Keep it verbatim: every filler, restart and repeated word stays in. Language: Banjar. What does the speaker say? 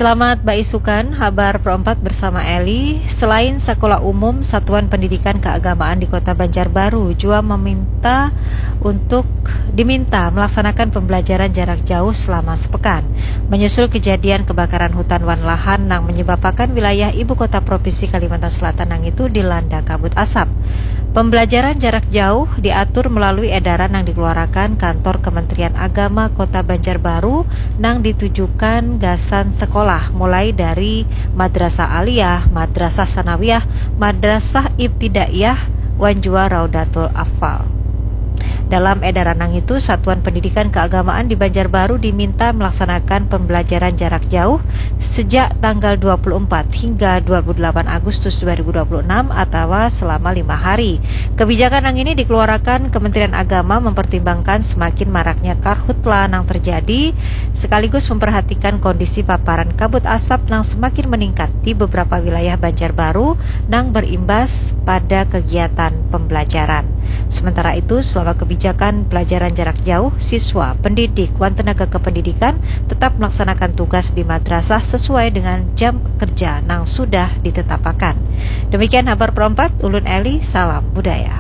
Selamat baisukan, habar perempat bersama Eli. Selain sekolah umum, Satuan Pendidikan Keagamaan di Kota Banjarbaru jua meminta untuk diminta melaksanakan pembelajaran jarak jauh selama sepekan, menyusul kejadian kebakaran hutan wan lahan nang menyebabakan wilayah ibu kota provinsi Kalimantan Selatan nang itu dilanda kabut asap. Pembelajaran jarak jauh diatur melalui edaran yang dikeluarakan kantor Kementerian Agama Kota Banjarbaru nang ditujukan gasan sekolah, mulai dari Madrasah Aliyah, Madrasah Sanawiyah, Madrasah Ibtidaiyah, wan jua Raudatul Atfal. Dalam edaran nang itu, Satuan Pendidikan Keagamaan di Banjarbaru diminta melaksanakan pembelajaran jarak jauh sejak tanggal dua puluh empat hingga dua puluh delapan Agustus dua ribu dua puluh enam atawa selama lima hari. Kebijakan nang ini dikeluarakan Kementerian Agama mempertimbangkan semakin maraknya karhutla nang terjadi, sekaligus memperhatikan kondisi paparan kabut asap nang semakin meningkat di beberapa wilayah Banjarbaru nang berimbas pada kegiatan pembelajaran. Sementara itu, selama kebijakan pelajaran jarak jauh, siswa, pendidik, wan tenaga kependidikan tetap melaksanakan tugas di madrasah sesuai dengan jam kerja nang sudah ditetapakan. Demikian habar perempat, ulun Eli, salam budaya.